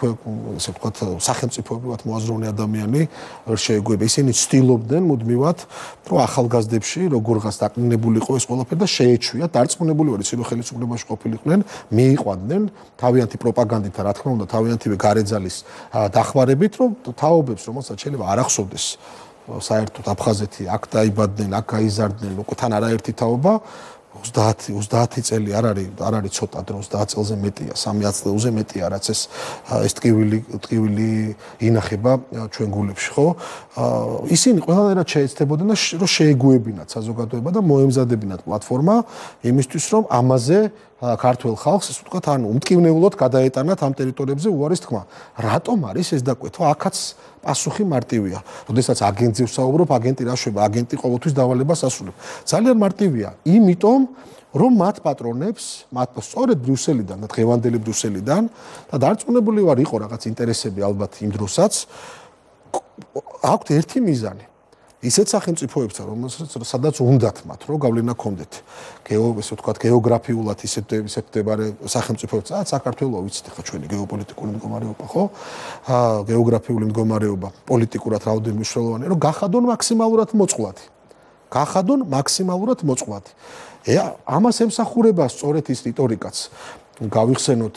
ესე ვთქვათ, სახელმწიფოებრივად მოაზროვნე ადამიანი ვერ შეეგუება. ისინი ცდილობდნენ მუდმივად, რომ ახალგაზრდებში როგორღაც დაკნინებული იყო ეს ყველაფერი და შეეჩვიათ, დარწმუნებული ვარ, ისინი ხელისუფლებაში ყოფილიყვნენ, მიიყვანდნენ თავიანთი პროპაგანდით და რა თქმა უნდა, თავიანთივე გარეძალის დახმარებით, რომ თაობებს, რომელსაც შეიძლება არ ახსოვდეს საერთოდ აფხაზეთი აქ დაიბადნენ, აქ გაიზარდნენ, უკვე თან არაერთი თაობა 30 წელი არ არის ცოტა დრო 30 წელზე მეტია 300 წელზე მეტია რაც ეს ტკივილი ინახება ჩვენ გულებში ხო ისინი ყველანაირად შეეცდებოდნენ რომ შეეგუებინათ საზოგადოება და მოემზადებინათ პლატფორმა იმისთვის რომ ამაზე ქართულ ხალხს ისე ვთქვათ ანუ უმტკივნეულოდ გადაეტანათ ამ ტერიტორიებზე უარის თქმა რატომ არის ეს დაკვეთვა აქაც პასუხი მარტივია. როდესაც აგენტზე ვსაუბრობ, აგენტი რა შვება, აგენტი ყოველთვის დავალებას ასრულებს. ძალიან მარტივია, იმიტომ რომ მათ პატრონებს, მათ სწორედ ბრიუსელიდან და დღევანდელი ბრიუსელიდან და დარწმუნებული ვარ, იყო რაღაც ინტერესები ალბათ იმ დროსაც აქვთ ერთი მიზანი. ისეთ სახელმწიფოებთან, რომელსაც სადაც უნდათ მათ, რომ გავლენა ქონდეთ. ესე ვთქვათ, გეოგრაფიულად ისეთ მდებარე სახელმწიფოებთან, საქართველოს ვიცით ხა ჩვენი გეოპოლიტიკური მდგომარეობა, ხო? გეოგრაფიული მდგომარეობა, პოლიტიკურად რაოდენიმე მნიშვნელოვანი, რომ გახადონ მაქსიმალურად მოწყვლადი. გახადონ მაქსიმალურად მოწყვლადი. ამას ემსახურება სწორედ ის რიტორიკაც. გავიხსენოთ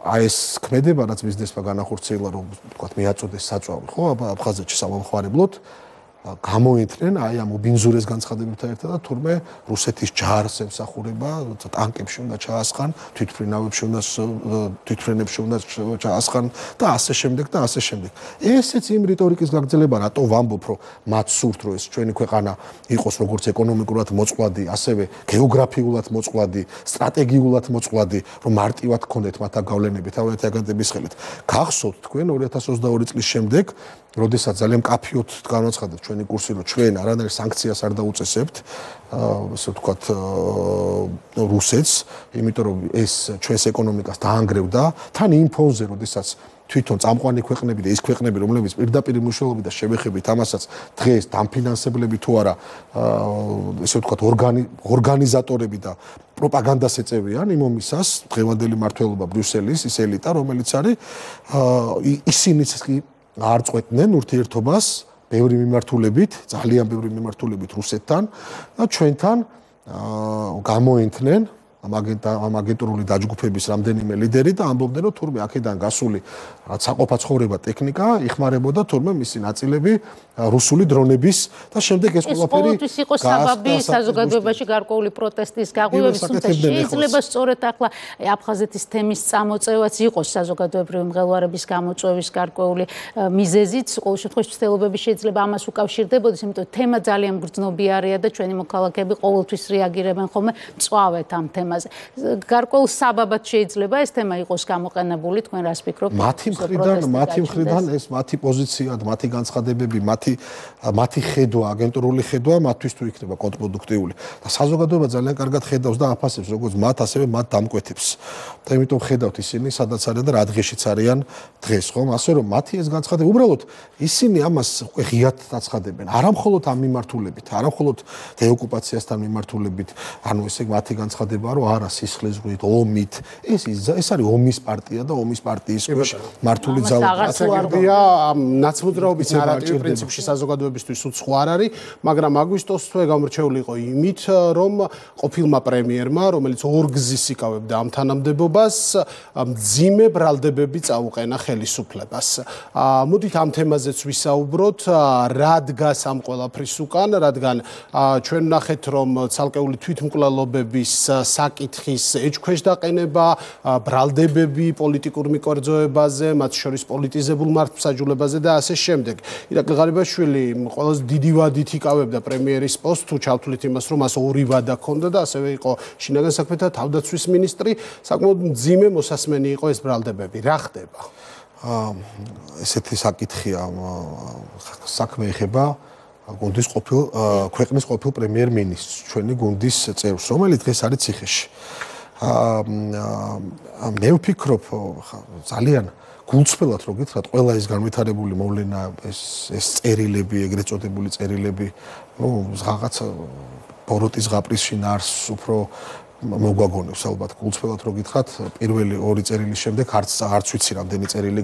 აი ეს ქმედება, რაც ბიზნესმა განახორციელა, რომ ვთქვათ, მიაწოდეს საწვავი, ხო? აფხაზეთში სამომხმარებლოდ გამოეთნენ აი ამ უბინზურეს განცხადებებთან ერთად და თურმე რუსეთის ჯარს ემსახურება, ტანკებში უნდა ჩაასხან, თვითფრენებში უნდა ჩაასხან და ასე შემდეგ და ასე შემდეგ. ესეც იმ რიტორიკის გაგრძელება, რატო ვამბობ, რომ მათ სურთ, რომ ეს ჩვენი ქვეყანა იყოს როგორც ეკონომიკურად მოწყვლადი, ასევე გეოგრაფიულად მოწყვლადი, სტრატეგიულად მოწყვლადი, რომ მარტივად გქონდეთ მათ გავლენები თავიანთი აგენტების ხელით. გახსოვთ თქვენ 2022 წლის შემდეგ როდესაც ძალიან კაფიოდ განაცხადეთ ჩვენი კურსი, რომ ჩვენ არანაირ სანქციას არ დაუწესებთ, ასე ვთქვათ, რუსეთს, იმიტომ რომ ეს ჩვენს ეკონომიკას დაანგრევდა, თან იმ ფონზე, როდესაც თვითონ წამყვანი ქვეყნები და ის ქვეყნები, რომლებიც პირდაპირ მნიშვნელობით და შევეხებით ამასაც დღეს დამფინანსებლები თუ არა, ესე ვთქვათ, ორგანიზატორები და პროპაგანდას ეწევიან იმ ომისას, დღევანდელი მმართველობა ბრიუსელის, ის ელიტა, რომელიც არის, ისინიც კი არ წყვეტდნენ ურთიერთობას ბევრი მიმართულებით, ძალიან ბევრი მიმართულებით რუსეთთან და ჩვენთან გამოენთნენ ამ აგენტურული დაჯგუფების რამდენიმე ლიდერი და ამბობდნენ, რომ თურმე აქედან გასული რაც საყოფაცხოვრება ტექნიკა იხმარებოდა თურმე მისი ნაწილები რუსული დრონების და შემდეგ ეს ყველაფერი ყოველთვის იყო საბაბი საზოგადოებაში გარკვეული პროტესტის გაღვივების, თუმცა შეიძლება სწორედ ახლა აფხაზეთის თემის წამოწევაც იყოს საზოგადოებრივი მღელვარების გამოწვევის გარკვეული მიზეზიც, ყოველ შემთხვევაში ცდილობები შეიძლება ამას უკავშირდებოდეს, იმიტომ რომ თემა ძალიან გრძნობიარეა და ჩვენი მოქალაქეები ყოველთვის რეაგირებენ ხოლმე მწვავედ ამ თემაზე. გარკვეულ საბაბად შეიძლება ეს თემა იყოს გამოყენებული, თქვენ რას ფიქრობთ? მათი მხრიდან ეს მათი პოზიცია, მათი განცხადებები, მათი ხედვა, აგენტურული ხედვა მათთვის თუ იქნება კონტრპროდუქტიული. და საზოგადოება ძალიან კარგად ხედავს და აფასებს როგორც მათ, ასევე მათ დამკვეთებს. და იმიტომ ხედავთ ისინი სადაც არიან და რა დღეშიც არიან დღეს, ხომ? ასე რომ მათი ეს განცხადება, უბრალოდ ისინი ამას უკვე ღიად დაცხადებენ. არა მხოლოდ ამ მიმართულებით, არა მხოლოდ დეოკუპაციასთან მიმართულებით, ანუ ესე მათი განცხადება რომ არა სისხლისღვრით, ომით, ეს არის ომის პარტია და ომის პარტიის მართული ძალა. ასაგებია ნაცმოძრაობის ნარატივი პრინციპში საზოგადოებისთვის უცხო არ არის, მაგრამ აგვისტოს თვე გამორჩეული იყო იმით, რომ ყოფილმა პრემიერმა, რომელიც ორგზის იკავებდა ამ თანამდებობას, მძიმე ბრალდებები წაუყენა ხელისუფლებას. მოდით ამ თემაზეც ვისაუბროთ, რა დგას ამ ყველაფრის უკან, რადგან ჩვენ ვნახეთ, რომ ცალკეული თვითმკვლელობების საკითხის ეჭქვეშ დაყენება, ბრალდებები პოლიტიკურ მიკერძოებაზე, მათ შორის პოლიტიზებულ მართლმსაჯულებაზე და ასე შემდეგ. ირაკლი ღარიბაშვილი ყველაზე დიდი ვადით იკავებდა პრემიერის პოსტს, თუ ჩავთვლით იმას, რომ მას ორი ვადა ჰქონდა და ასევე იყო შინაგან საქმეთა თავდაცვის მინისტრი, საკმაოდ მძიმე მოსასმენი იყო ეს ბრალდებები. რა ხდება? ესეთი საკითხია, საქმე ეხება გუნდის ქვეყნის ყოფილ პრემიერ-მინისტრს, ჩვენი გუნდის წევრს, რომელიც დღეს არის ციხეში. მე ვფიქრობ, ძალიან გულწრფელად რო გითხრათ, ყველა ეს განვითარებული მოვლენა, ეს წერილები, ეგრეთ წოდებული წერილები, ნუ რაღაც ბოროტის ზღაპრის შინაარსს უფრო მოგვაგონებს ალბათ. გულწრფელად რო გითხრათ, პირველი ორი წერილის შემდეგ არც ვიცი რამდენი წერილი